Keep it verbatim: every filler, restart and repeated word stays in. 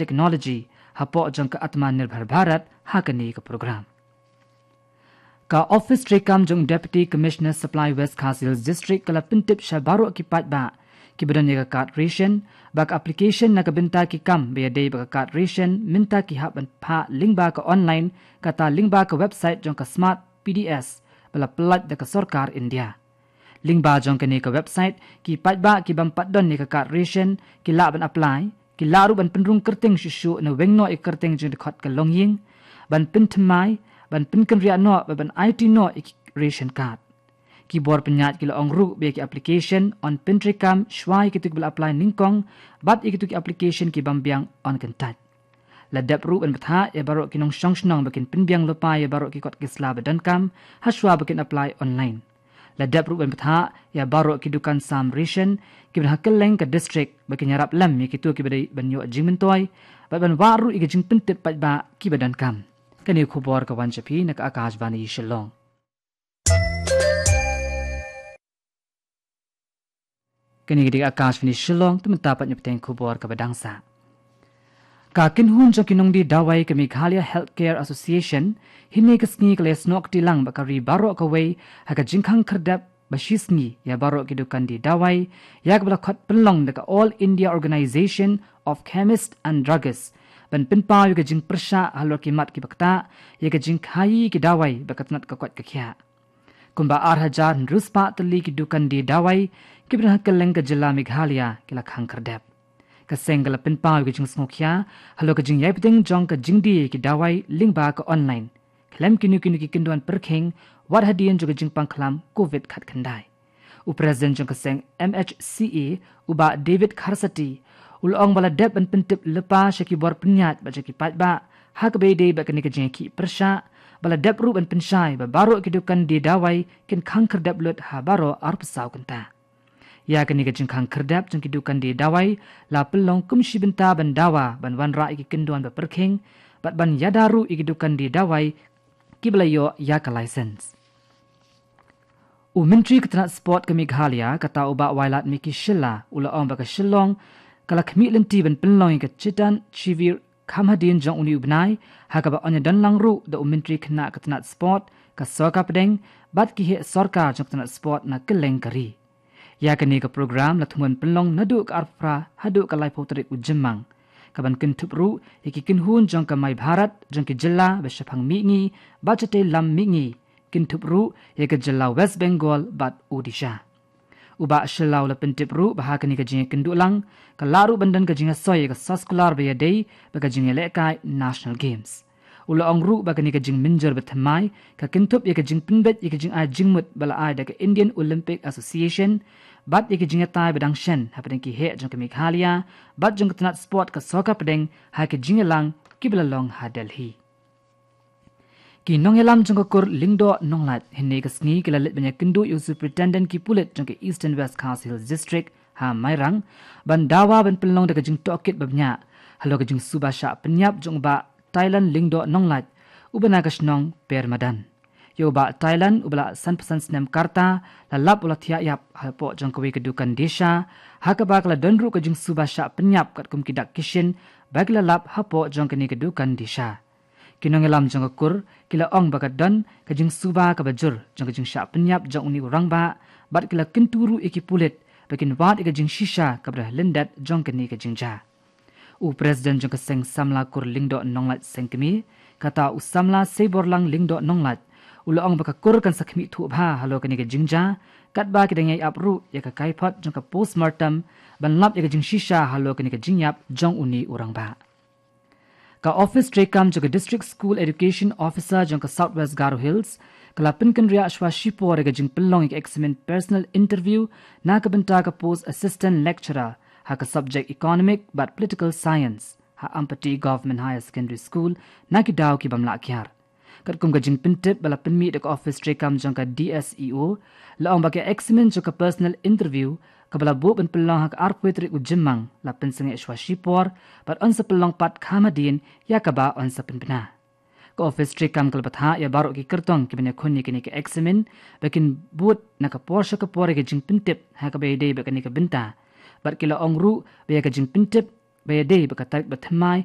Technology hapoh jong ka Atmanirbhar Bharat ha kane ka program. Ka office treikam jong Deputy Commissioner Supply West Khasi Hills District ka la pyntip sha baroh ki paidbah kiba don ïa ka card ration ba ka application na ka bynta ki kam ba ïadei bad ka card ration mynta ki hap ban phah lyngba ka online, kata lyngba ka website jong ka Smart P D S ba la pyllait da ka sorkar India. Lyngba jong kane ka website, ki paidbah ki bym pat don ïa ka card ration ki lah ban apply, ki lah ruh ban pynrung kyrteng shuh shuh na weng noh ïa ka kyrteng jingdkhot ka longïing, ban pynthymmai, ban pynkynriah noh bad ban aiti noh ïa ki ration card. Ki bor pynïaid ki la ong ruh ba ïa ki application yn pyntreikam shuwa ïa kito kiba la apply nyngkong, bad ïa kito ki application ki bym biang yn kyntait. La dep ruh ban bthah ïa baroh ki nongshong shnong ba kin pynbiang lypa ïa baroh ki kot ki sla ba donkam ha shuwa ba kin apply online. La dep ruh ban bthah ïa baroh ki dukan sam ration kiba don ha kylleng ka district ba kin ïarap lem ïa kito kiba dei ban ïoh jingmyntoi bad ban wad ruh ïa ki jingpyntip paidbah kiba donkam. Kane ka khubor ka wan sha phi na ka Akashvani Shillong. Kane ka dei ka Akashvani Shillong, te mynta pat ngin ïa bteng khubor kaba dang sah. Ka kynhun jong ki nongdie dawai ka Meghalaya Healthcare Association hynne ka sngi ka la ïasnoh kti lang bad ka ri baroh kawei ha ka jingkhang khyrdep ba shi sngi ïa baroh ki dukan die dawai ïa kaba la khot pynlong da ka All India Organisation of Chemists and Druggists ban pynpaw ïa ka jingpyrshah halor ki mat kiba ktah ïa ka jingkhaïi ki dawai bad ka tnat ka koit ka khiah. Kumba ar hajar hynriew spah tylli ki dukan die dawai kiba don ha kylleng ka jylla Meghalaya ki la khang khyrdep. Ka seng ka la pynpaw ïa ka jingsngewkhia halor ka jingïaibteng jong ka jingdie ki dawai lyngba ka online khlem kino kino ki kyndon pyrkhing wat hadien jong ka jingpang khlam covid khatkhyndai. U President jong ka seng M H C A, u Bah David Kharsati, u la ong ba la dep ban pyntip lypa sha ki bor pynïaid bad sha ki paidbah ha kaba ïadei bad kane ka jingïakhih pyrshah, ba la dep ruh ban pynshai ba baroh ki dukan die dawai kin khang khyrdep lut ha baroh arphew saw kynta. Ïa kane ka jingkhang khyrdep jong ki dukan die dawai la pynlong kum shi bynta ban dawa ban wanrah ïa ki kyndon ba pyrkhing bad ban ïada ruh ïa ki dukan die dawai kiba la ïoh ïa ka license. U Myntri ka tnat sport ka Meghalaya, kata u Bah Wailadmiki Shylla, u la ong ba ka Shillong ka la khmih lynti ban pynlong ïa ka Chetan Shivir kham hadien jong une u bnai, ha kaba yn ïadon lang ruh da u Myntri khynnah ka tnat sport ka Sorkar Pdeng bad ki heh sorkar jong ka tnat sport na kylleng ka ri. Ïa kane ka program la thmu ban pynlong naduh ka arphew phra haduh ka laiphew tarik u Jymmang, kaban kynthup ruh ïa ki kynhun jong ka My Bharat jong ki jylla ba shaphang mihngi bad shatei lam mihngi, kynthup ruh ïa ka jylla West Bengal bad Odisha. U Bah Shylla u la pyntip ruh ba ha kane ka jingïakynduh lang ka lah ruh ban don ka jingïasoi ïa ka soskular ba ïadei bad ka jingïalehkai National Games. U la ong ruh ba kane ka jingmynjur ba thymmai ka kynthup ïa ka jingpynbeit ïa ka jingai jingmut ba la ai da ka Indian Olympic Association bad ïa ka jingïatai ba dang shen hapdeng ki heh jong ka Meghalaya bad jong ka tnat sport ka Sorkar Pdeng ha ka jingïalang kiba la long ha Delhi. Ki nongïalam jong ka kur Lyngdoh Nonglait hynne ka sngi ki la leit ban ïakynduh ïa u Superintendent ki pulit jong ka Eastern West Khasi Hills District ha Mairang ban dawa ban pynlong da ka jingtohkit ba bniah halor ka jingsuba shah pynïap jong u Bah Thailand Lyngdoh Nonglait uba na ka shnong Permadan. Ïa u Bah Thailand uba la sanphew san snem ka rta la lap u la thiah ïap hapoh jong kawei ka dukan die sha ha kaba ka la don ruh ka jingsuba shah pynïap katkum ki dak ki shin ba ki la lap hapoh jong kane ka dukan die sha. Ki nongïalam jong ka kur ki la ong ba ka don ka jingsuba kaba jur jong ka jingshah pynïap jong une u rangbah bad ki la kyntu ruh ïa ki pulit ba kin wad ïa ka jingshisha kaba da lyndet jong kane ka jingjia. U President jong ka Seng Samla Kur Lyngdoh Nonglait Sengkmie, kata u Samla Seiborlang Lyngdoh Nonglait, u la ong ba ka kur kan sa khmih thuh bha halor kane ka jingjia katba ki dang ïai ap ruh ïa ka kaiphod jong ka postmortem ban lap ïa ka jingshisha halor kane ka jingïap jong une u rangbah. Ka office treikam jong ka District School Education Officer jong ka South West Garo Hills ka la pynkynriah shuwa shipor ïa ka jingpynlong ïa ka eksamin personal interview na ka bynta ka post Assistant Lecturer ha ka subject Economic bad Political Science ha Ampati Government Higher Secondary School na ki daw ki bym lah kiar. Katkum ka jingpyntip ba la pynmih da ka office treikam jong ka D S E O, la ong ba ka eksamin jong ka personal interview kaba la buh ban pynlong ha ka arphew tarik u Jymmang la pynsangeh shuwa shipor bad yn sa pynlong pat kham hadien ïa kaba yn sa pynbna. Ka office treikam ka la bthah ïa baroh ki kyrtong kiban ïakhun ïa kane ka eksamin ba kin bud na ka por sha ka por ïa ka jingpyntip ha kaba ïadei bad kane ka bynta bad ki la ong ruh ba ïa ka jingpyntip ba ïadei bad ka tarik ba thymmai